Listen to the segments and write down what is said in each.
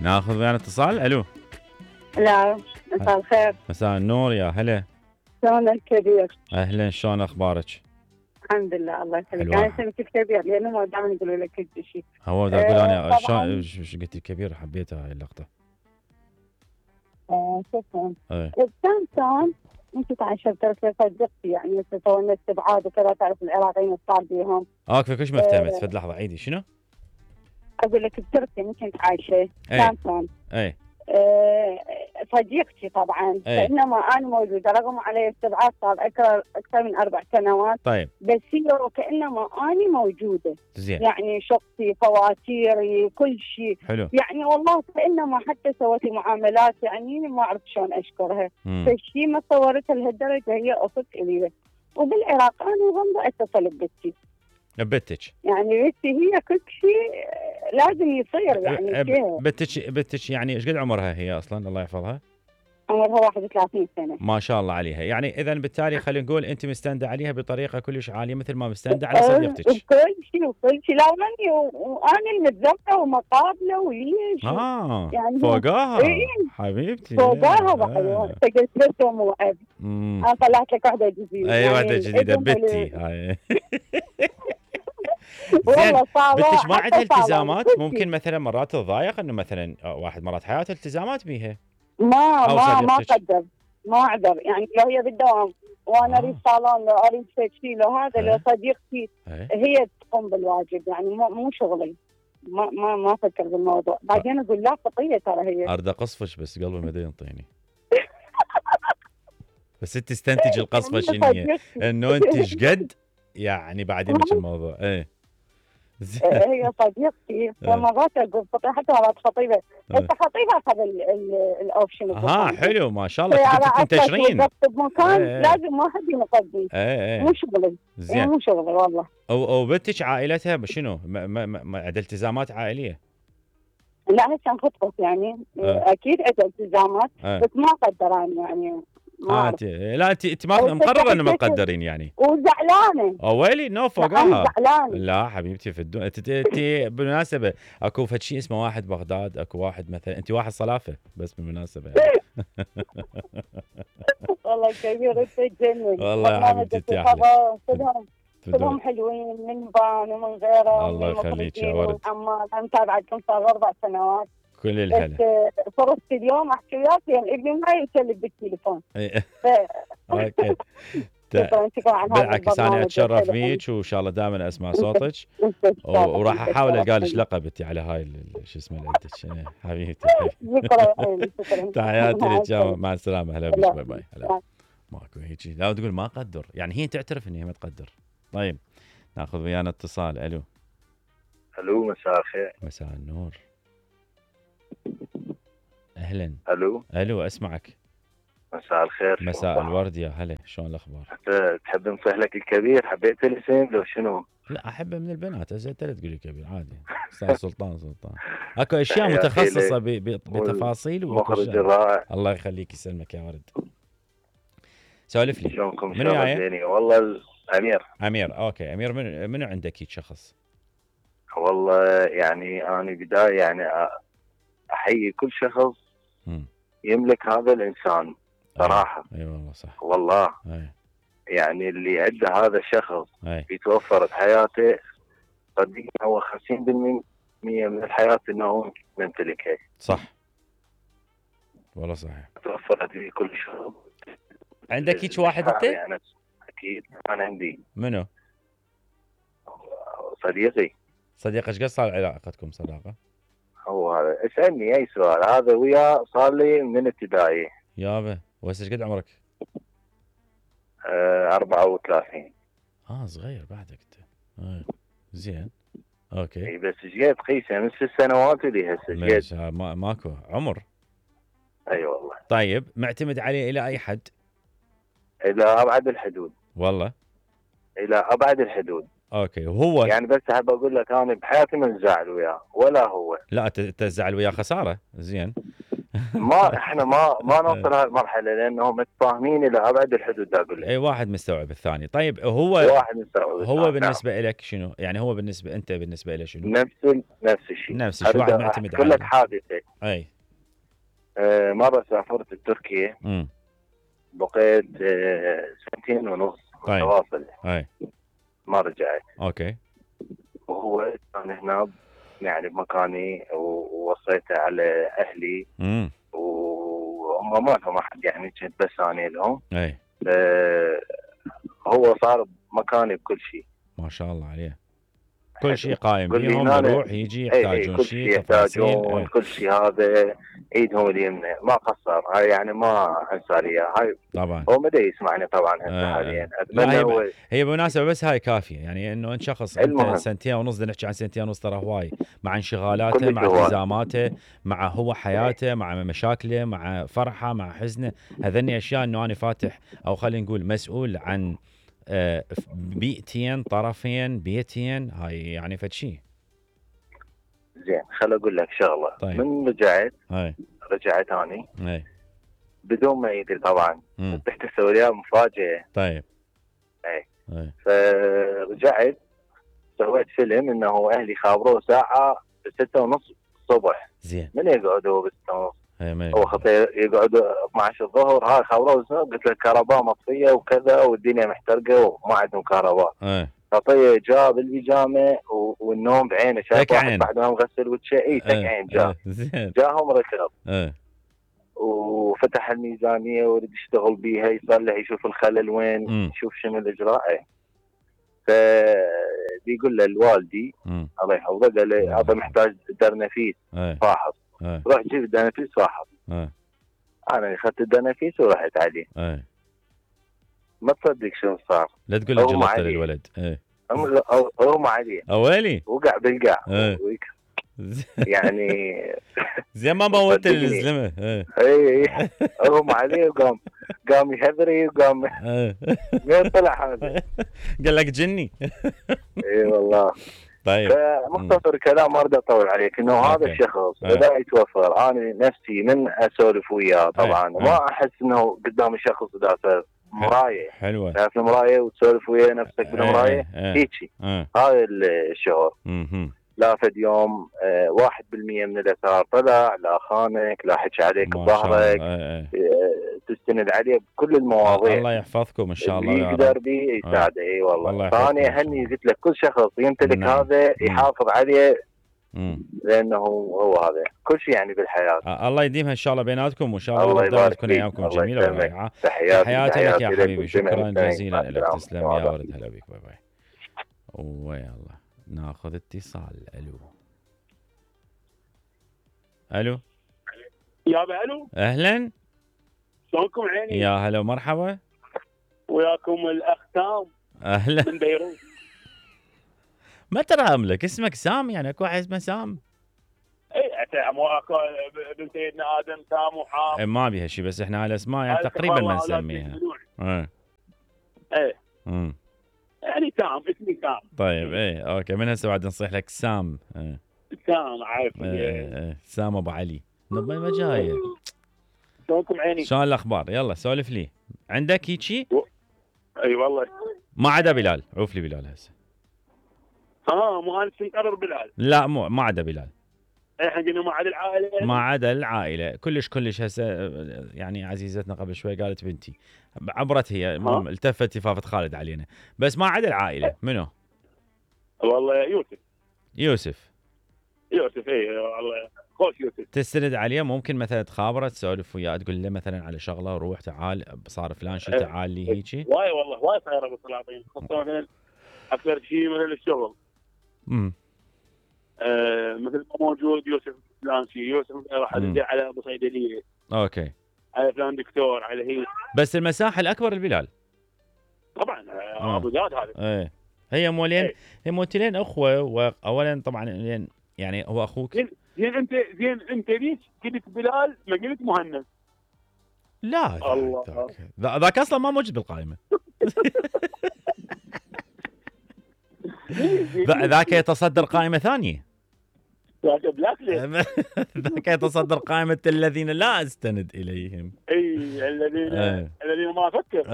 ناخذ ويانا اتصال. الو. لا، مساء الخير. مساء النور، يا هلا. شلونك كبير؟ اهلا، شلون اخبارك؟ الحمد لله، الله يخليك. حلوة. انا سميتك كبير لانه دائما يقولوا لك كل شيء. هو دا اقول انا طبعاً. شو قلت كبير، حبيت هاي اللقطه. شكرا. ايه. كان انت تعشرت صديقتي، يعني تسوي استبعاد وكذا، تعرف العراقيين صار بيهم. اوكي، كلش مفتهمت. فد لحظه عيدي شنو؟ اقول لك بتركيا انت كنت عايشه. ايه. كان ايه. صديقتي طبعا. أي. فانما انا موجوده رغم علي استبعاد صار اكثر من 4 سنوات. طيب. بس هي وكانما انا موجوده. زين. يعني شخصي، فواتيري، كل شيء. حلو. يعني والله كانما حتى سوت لي معاملات، يعني ما اعرف شلون اشكرها. فالشيء ما صورتها لهالدرجه، هي اخت الي. وبالعراق انا غمضه اتصل ببنتي. بنتك. يعني بنتي هي كل شيء لازم يصير، يعني فيها. بنتك يعني ايش قد عمرها هي اصلا؟ الله يحفظها. عمرها 31 سنه. ما شاء الله عليها. يعني اذا بالتالي خلينا نقول انت مستنده عليها بطريقه كلش عاليه، مثل ما مستنده على صديقتك. وكل شيء لا وانا المتزوجه ومقابله وليش. يعني فوقاها. إيه؟ حبيبتي فوقاها بحلوه. فقلت له موعد. انا طلعت لك واحده جديده. اي يعني واحده جديده بنتي هاي. والله صعبه. بنتك ما عندها التزامات؟ ممكن مثلا مرات تضايق انه مثلا واحد مرات حياته التزامات بيها. ما قدر، ما اقدر. يعني لو هي بالدوام وانا اريد صالون، لو اريد شيء، لو هذا لو صديقتي هي تقوم بالواجب، يعني مو شغلي. ما افكر بالموضوع. بعدين اقول لا خطيه ترى هي. اريد اقصفش بس قلبي ما ينطيني. بس انت تستنتج القصفه شنو هي؟ انه انت ايش قد يعني بعدين مش الموضوع. ايه. هي صديقتي. فمرات اقول حتى مرات خطيبه. انت خطيبه اخذ الاوبشن. حلو ما شاء الله. كنتوا تنتشرين بمكان لازم واحد ينقضي. مو شغلي. زين. مو شغلي والله. وبنتك عائلتها شنو؟ عندها التزامات عائليه؟ لا هسه انخطبت يعني. اكيد عندها التزامات. بس ما قدران يعني. لا انت ما مقرره انه ما تقدرين يعني. وزعلانه. ويلي نو فوقاها. زعلانه. لا حبيبتي في الدنيا. انت بالمناسبه اكو فد شيء اسمه واحد بغداد، اكو واحد مثلا انت واحد صلافه بس بالمناسبه يعني. والله كبير انت تجنن. والله يا حبيبتي يا احلى. كلهم حلوين من بان ومن غيره. الله يخليك يا ورد. انا متابعتكم صار 4 سنوات. كل الهلا. فرصت اليوم احكي وياك لان ابني ما يسلك بالتليفون. اوكي. بالعكس انا اتشرف فيك وان شاء الله دائما اسمع صوتك. وراح احاول القى لك لقب انت على هاي شو اسمه لعبتك. حبيبتي. شكرا. تحياتي لك. مع السلامه. هلا بك. باي باي. هلا. ماكو هيك. لا تقول ما اقدر، يعني هي تعترف ان هي ما تقدر. طيب ناخذ ويانا اتصال. الو. مساء الخير. مساء النور. اهلا. الو اسمعك. مساء الخير. مساء الورد يا هلا. شلون الاخبار؟ تحب نصيح لك الكبير؟ حبيت الاسم لو شنو؟ لا احبه من البنات. انت لا تقولي كبير عادي. استاذ سلطان. اكو اشياء متخصصه بتفاصيل. مخرج رائع. الله يخليك يسلمك يا ورد. سولف لي. شلونكم؟ منو جاي؟ والله امير. اوكي امير. منو عندك شخص؟ والله يعني انا بدايه يعني احيي كل شخص يملك هذا الانسان صراحه. اي والله صح. والله. يعني اللي عنده هذا الشخص يتوفر بحياته صدقني هو 50% من الحياه انه هو يمتلكها. صح والله صحيح. توفرت لي كل شيء. عندك هيك واحد انت؟ يعني اكيد انا عندي. منو؟ صديقك ايش قد صار علاقتكم صداقه؟ هو هذا. اسالني اي سؤال. هذا وياه صار لي من ابتدائي. يابا. وهسه ايش قد عمرك؟ 34. صغير بعدك انت. زين. اوكي. اي بس ايش قد قيسه من 6 سنوات اللي هسه ماكو عمر. اي والله. طيب معتمد عليه الى اي حد؟ الى ابعد الحدود. والله. الى ابعد الحدود. اوكي. وهو يعني بس احب اقول لك انا بحياتي ما نزعل وياه ولا هو. لا انت تزعل وياه خساره. زين. ما احنا ما نوصل هاي المرحله لانهم متفاهمين الى ابعد الحدود. اقول لك اي واحد مستوعب الثاني. طيب هو واحد مستوعب هو بالنسبه لك شنو؟ يعني هو انت بالنسبه له شنو؟ نفس الشيء. نفس الشيء. واحد معتمد على كل لك حادثه. اي مره سافرت لتركيا. بقيت 2.5 سنين متواصل. اي ما رجعت. اوكي. وهو كان هنا يعني بمكاني ووصيته على اهلي. وهم ما لهم احد يعني كنت بس انا لهم. اي هو صار مكاني بكل شيء. ما شاء الله عليه. كل شيء قايم بيهم، يروح يجي يحتاجون شيء تفاصيل كل شيء هذا ايدهم اليمنى ما قصر. هاي يعني ما انسى لي هاي طبعا. هو مدى يسمعني طبعا هسه حاليا. اتمنى هي بمناسبه بس هاي كافيه يعني انه انت شخص انت 2.5 سنين نحكي عن 2.5 سنين ترى هواي، مع انشغالاته مع التزاماته مع هو حياته مع مشاكله مع فرحه مع حزنه. هذني اشياء انه انا فاتح او خلينا نقول مسؤول عن بيئتين طرفين بيتين. هاي يعني فد شيء زين. خل اقول لك شغله. طيب. من رجعت اني بدون ما يدري طبعا. رحت اسوي لها مفاجاه. طيب. اي فرجعت سويت فيلم انه اهلي خابروه ساعه 6:30 الصبح. زين. من يقعد هو ب6:30؟ هو خطير يقعد 12 الظهر. هاي خابروه. قلت له الكهرباء مطفيه وكذا والدنيا محترقه وما عندهم كهرباء. خطيه جاب البيجامه والنوم بعينه. شايف واحد بعد ما مغسل وجهه. تك عين جاهم ركض. وفتح الميزانيه ويريد يشتغل بيها يصلح يشوف الخلل وين. يشوف شنو الاجراء. فبيقول له الوالدي الله يحفظه قال لي هذا محتاج درنفيس فاحص. روح جيب الدرنفيس فاحص. انا اخذت الدرنفيس ورحت عليه. ما تصدق شنو صار. لا تقول لي جلطت للولد. اغمى عليه. اويلي وقع بالقاع. يعني زي ما موت الزلمه. اي اغمى عليه قام يهذري وقام. وين طلع هذا؟ قال لك جني. اي والله. طيب. مختصر كلام ما اريد اطول عليك انه هذا الشخص اذا يتوفر انا نفسي من اسولف وياه طبعا ما احس انه قدام الشخص ذاته مرايه حلوه. تعرف المرايه وتسولف ويا نفسك بالمرايه هيجي. هذا الشعور. لا فد يوم 1% من الاثار طلع لا خانك لا حكي عليك بظهرك. تستند عليه بكل المواضيع. الله يحفظكم ان شاء الله. يقدر به يساعده. اي والله. فاني اهني قلت لك كل شخص يمتلك هذا يحافظ عليه لانه هو هذا كل شيء يعني بالحياه. الله يديمها ان شاء الله بيناتكم وان شاء الله يبارك تكون ايامكم جميله ورائعه. تحياتي لك يا حبيبي. شكرا جزيلا لك. تسلم يا ولد. هلا بك. باي باي. ويلا ناخذ اتصال. الو يابا. الو اهلا. شلونكم عيني؟ يا هلا ومرحبا. وياكم الاخ سام. اهلا من بيروت. ما ترى لك اسمك سام يعني اكو واحد اسمه سام. اي اكو بنت سيدنا ادم سام وحام. ما بيها شيء بس احنا على اسماء يعني تقريبا ما نسميها. ايه يعني سام اسمي سام. طيب اوكي من هسه بعد نصيح لك سام. سام عارف. سام ابو علي. ما جايه. شلونكم عيني؟ شلون الاخبار؟ يلا سولف لي. عندك هيجي؟ اي والله. ما عدا بلال. عوف لي بلال هسه. مو انا مقرر بلال. لا ما عدا بلال. احنا قلنا ما عدا العائله. ما عدا العائله كلش هسه يعني عزيزتنا قبل شوي قالت بنتي عبرت هي التفت تفافت خالد علينا بس ما عدا العائله. منو؟ والله يوسف. اي والله خوش يوسف. تستند عليه ممكن مثلا تخابره تسولف وياه تقول له مثلا على شغله روح تعال صار فلان شيء تعال لي هيجي. واي صايره بالسلاطين خاصه مثلا اكثر شيء مثلا الشغل. مثل ما موجود يوسف فلان شيء. يوسف راح ادي على ابو صيدليه. اوكي. على فلان دكتور على هي. بس المساحه الاكبر البلال. طبعا ابو زاد هذا. هي مولين. هي موتلين اخوه واولا طبعا يعني هو اخوك. زين انت ليش قلت بلال ما قلت مهند؟ لا الله ذاك اصلا ما موجود بالقائمه. ذاك يتصدر قائمه ثانيه. ذاك يتصدر قائمة الذين لا استند اليهم. اي الذين ما افكر.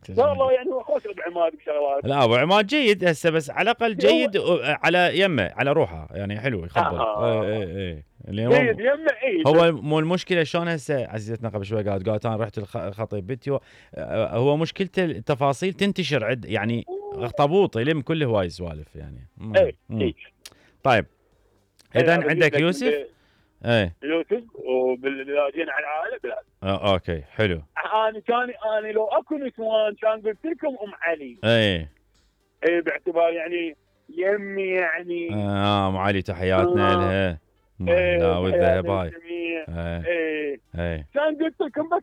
والله يعني هو خوش ابو عماد بشغلات. لا ابو عماد جيد هسه، بس على الاقل جيد على يمه، على روحه يعني حلو يخبل. اي جيد يمه. اي هو مو المشكله شلون هسه عزيزتنا قبل شوي قالت انا رحت الخطيب فيديو. هو مشكلته التفاصيل تنتشر يعني اخطبوط يلم كل هواي سوالف يعني. اي طيب اذا عندك يوسف. يوسف وباللاجئين على العائله بلاد. اوكي حلو. انا لو اكو نسوان كان قلت لكم ام علي. اي باعتبار يعني يمي يعني. ام علي تحياتنا لها. لا والذهب هاي. كان قلت لكم بس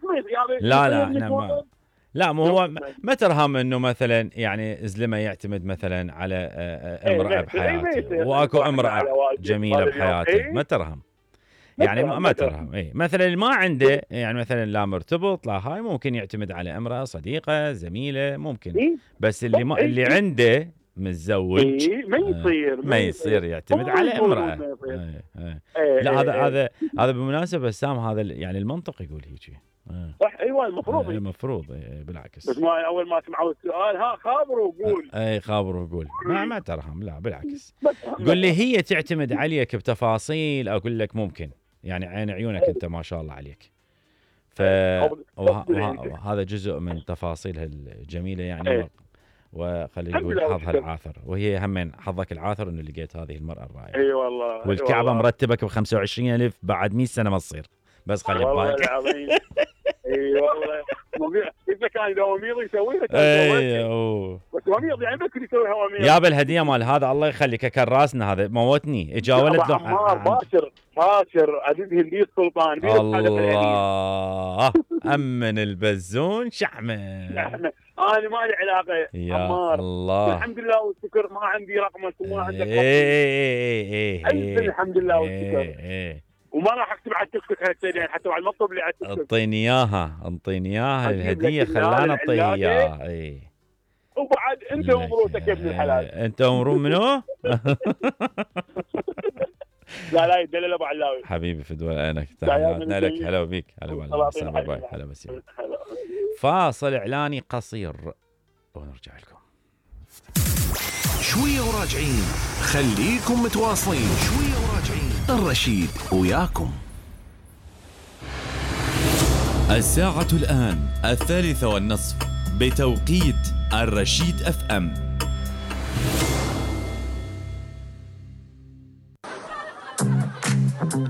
لا لا مو هو ما ترهم انه مثلا يعني زلمه يعتمد مثلا على امراه بحياته، واكو امراه جميله بحياته ما ترهم يعني ما ترهم. اي مثلا اللي ما عنده يعني مثلا لا مرتبط لا هاي ممكن يعتمد على امراه صديقه زميله ممكن. بس اللي عنده متزوج ما يصير يعتمد على امراه. لا هذا بالمناسبه سام، هذا يعني المنطق يقول هيك. صح. ايوه المفروض بالعكس. بس ما اول ما سمعوا السؤال خابروا وقول. خابروا وقول ما ترهم. لا بالعكس. قل لي هي تعتمد عليك بتفاصيل، اقول لك ممكن يعني عين عيونك انت ما شاء الله عليك. وهذا جزء من تفاصيلها الجميله يعني. وخلينا نقول حظها العاثر، وهي همين حظك العاثر انه لقيت هذه المراه الرائعه. اي والله. والكعبه مرتبك ب 25,000 بعد 100 سنه ما تصير، بس خلي بالك. والله العظيم. اي والله اذا كان دوامير يسوي لك. بس دوامير يعني بكري يسوي هوامير. يا بالهديه مال هذا الله يخليك كراسنا هذا موتني. اجا ولد باشر عزيز هندي السلطان. الله امن البزون شحمه. انا ما لي علاقه يا الله. الحمد لله والشكر ما عندي رقمك وما عندك رقمي. الحمد لله والشكر. وما راح اكتب على التيك توك هالسنه حتى بعد ما اطلب لي على التيك توك. اعطيني اياها الهديه خلانا نعطيها اياها. وبعد انت ومروتك يا ابن الحلال. انت ومرو منو؟ لا يدلل ابو علاوي حبيبي فدوى عينك. تحياتنا لك. هلا بيك. هلا باي. هلا بس. فاصل اعلاني قصير ونرجع لكم. شويه وراجعين، خليكم متواصلين. شويه وراجعين، الرشيد وياكم. الساعة الآن 3:30 بتوقيت الرشيد FM.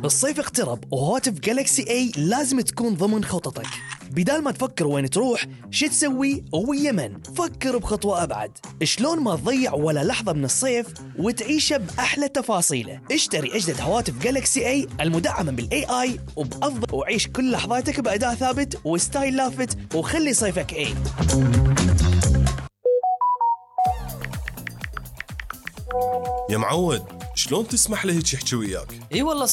الصيف اقترب وهواتف جالكسي اي لازم تكون ضمن خططك. بدال ما تفكر وين تروح شو تسوي ويمن، فكر بخطوة أبعد. شلون ما تضيع ولا لحظة من الصيف وتعيشه بأحلى تفاصيله. اشتري أجدد هواتف جالكسي اي المدعمة بالاي اي وبأفضل، وعيش كل لحظاتك بأداء ثابت وستايل لافت، وخلي صيفك اي. يا معود شلون تسمح له هيك يحكي وياك؟ اي والله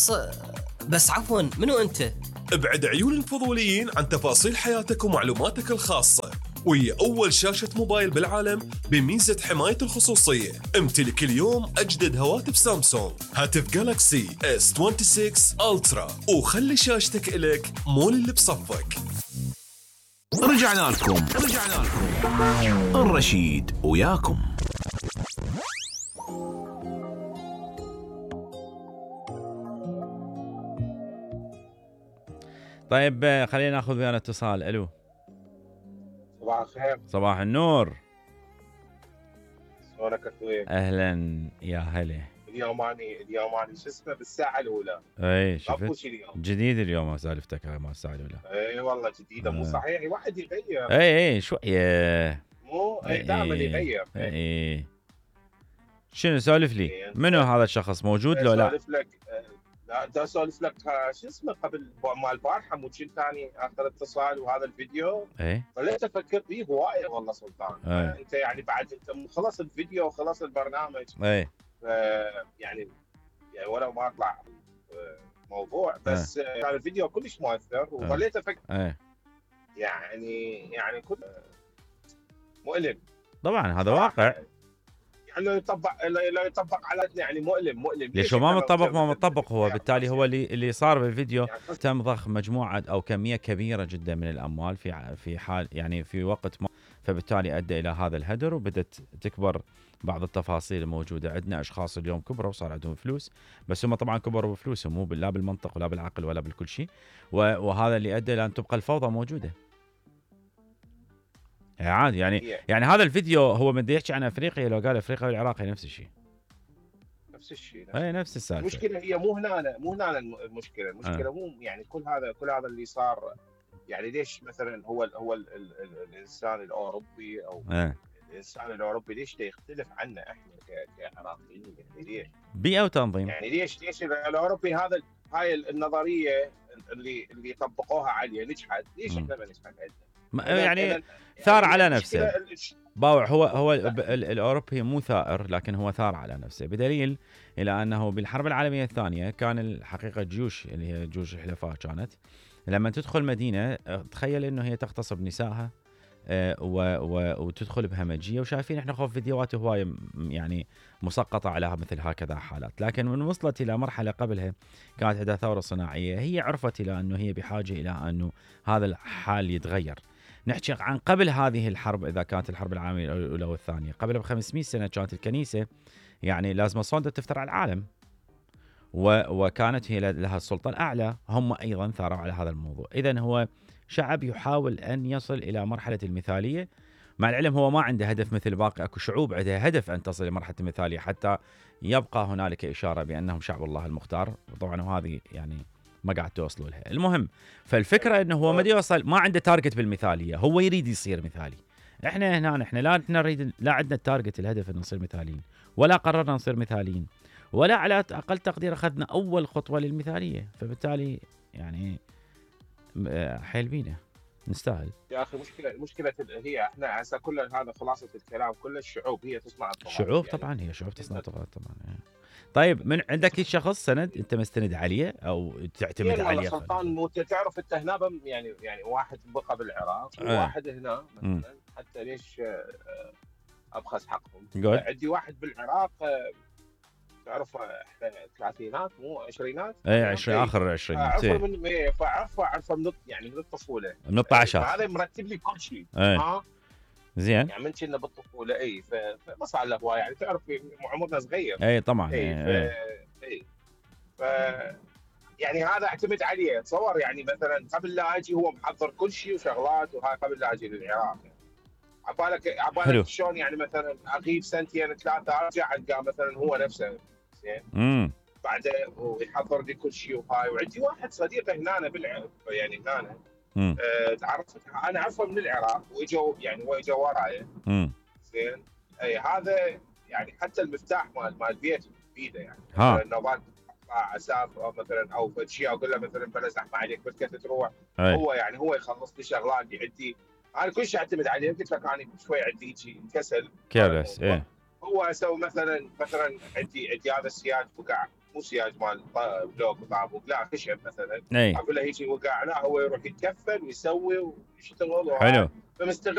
بس عفوا منو انت؟ ابعد عيون الفضوليين عن تفاصيل حياتك ومعلوماتك الخاصة، وهي أول شاشة موبايل بالعالم بميزة حماية الخصوصية. امتلك اليوم أجدد هواتف سامسونج، هاتف جالكسي S26 ألترا، وخلي شاشتك إلك مول اللي بصفك. رجعنا لكم الرشيد وياكم. طيب خلينا ناخذ ويانا اتصال. الو صباح الخير. صباح النور. شلونك اخوي؟ اهلا يا هلا. اليوم اني شو اسمه بالساعه الاولى. اي شفت جديد اليوم سالفتك هاي مال الساعه الاولى. اي والله جديده مو صحيح. واحد يغير. اي شويه مو دائما يغير. اي شنو سالف لي؟ منو هذا الشخص موجود لو لا؟ سالف لك. لا دا اسولف لك شو اسمه قبل مال البارحه مو كنت ثاني اخر اتصال وهذا الفيديو. خليت افكر فيه هوايه والله سلطان. انت يعني بعد انت خلص الفيديو وخلص البرنامج. يعني ولو ما اطلع موضوع بس كان الفيديو كلش مؤثر وخليت افكر. يعني كل مؤلم طبعا هذا واقع. يعني لو يطبق على يعني مؤلم ليش ما مطبق هو بالتالي هو اللي صار بالفيديو يعني تم ضخ مجموعه او كميه كبيره جدا من الاموال في حال يعني في وقت ما، فبالتالي ادى الى هذا الهدر وبدت تكبر بعض التفاصيل الموجوده. عندنا اشخاص اليوم كبروا وصار عندهم فلوس، بس هم طبعا كبروا بفلوسهم مو لا بالمنطق ولا بالعقل ولا بالكل شيء، وهذا اللي ادى الى ان تبقى الفوضى موجوده. عادي يعني هذا الفيديو هو بده يحكي عن افريقيا، لو قال افريقيا والعراق نفس الشيء نفس السالفه. المشكله هي مو هنا المشكله مو يعني كل هذا اللي صار. يعني ليش مثلا هو الانسان الاوروبي او الانسان الاوروبي ليش يختلف عنا احنا كعراقيين؟ يعني ليش بيئه وتنظيم؟ يعني ليش الاوروبي هاي النظريه اللي طبقوها عليه نجحت، ليش احنا ما نجحت عندنا؟ يعني ثار على نفسه باوع. هو الاوروبي مو ثائر، لكن هو ثار على نفسه، بدليل الى انه بالحرب العالميه الثانيه كان الحقيقه جيوش اللي هي جيوش الحلفاء كانت لما تدخل مدينه تخيل انه هي تغتصب نسائها وتدخل بهمجيه، وشايفين احنا خوف فيديوهات هوايه يعني مسقطه على مثل هكذا حالات. لكن من وصلت الى مرحله قبلها كانت عندها ثوره صناعيه، هي عرفت الى انه هي بحاجه الى انه هذا الحال يتغير. نحكي عن قبل هذه الحرب، اذا كانت الحرب العالميه الاولى والثانيه، قبل ب500 سنه كانت الكنيسه يعني لازم صندة تفتر على العالم، وكانت هي لها السلطه الاعلى، هم ايضا ثاروا على هذا الموضوع. اذا هو شعب يحاول ان يصل الى مرحله المثاليه، مع العلم هو ما عنده هدف مثل باقي اكو شعوب عندها هدف ان تصل لمرحله المثاليه حتى يبقى هنالك اشاره بانهم شعب الله المختار، وطبعا وهذه يعني ما قاعد توصلوا لها. المهم فالفكره انه هو ما يوصل، ما عنده تارجت بالمثاليه، هو يريد يصير مثالي. احنا هنا لا نريد، لا عندنا التارجت الهدف ان نصير مثاليين، ولا قررنا نصير مثاليين، ولا على اقل تقدير اخذنا اول خطوه للمثاليه، فبالتالي يعني حيل بينا نستاهل. يا اخي المشكله هي احنا هسه كل هذا خلاصه الكلام، كل الشعوب هي تصنع الطغاة. الشعوب يعني طبعا هي شعوب تصنع الطغاة طبعا يعني. طيب من عندك شخص سند انت مستند عليه او تعتمد عليه؟ سلطان تعرف انت هنا يعني واحد بقى بالعراق وواحد هنا مثلا، حتى ليش ابخس حقهم. عندي واحد بالعراق تعرف احنا الثلاثينات مو عشرينات، اي 20 اخر العشرينات، اعرفه من الطفوله، من الطعشات. هذا مرتب لي كل شيء. زين يعني من كنا بالطفوله فما صار له هوايه، يعني تعرف عمرنا صغير. اي طبعا يعني هذا اعتمد عليه. تصور يعني مثلا قبل لا اجي هو محضر كل شيء وشغلات، وهاي قبل لا اجي للعراق. عبالك شلون يعني مثلا اغيب سنتين ثلاثه ارجع القى مثلا هو نفسه زين بعده ويحضر لي كل شيء وهاي. وعندي واحد صديق هنا يعني هنا تعرفت انا اعرفه من العراق، واجوا يعني هو اجى وراي زين. اي هذا يعني حتى المفتاح مال البيت بيده، يعني نوبات اسافر مثلا او شيء اقول له مثلا بلا زحمه عليك بس كنت تروح، هو يعني هو يخلص لي شغلات عندي. انا كل شيء اعتمد عليه. قلت لك انا شوي عندي شيء كسل كارث. هو اسوي مثلا عندي هذا السياج وقع، مو سياج مال بلوك وطابوق، لا خشب مثلا، اقول له هيجي وقع، لا هو يروح يتكفل ويسوي ويشتغل. حلو. فمستغل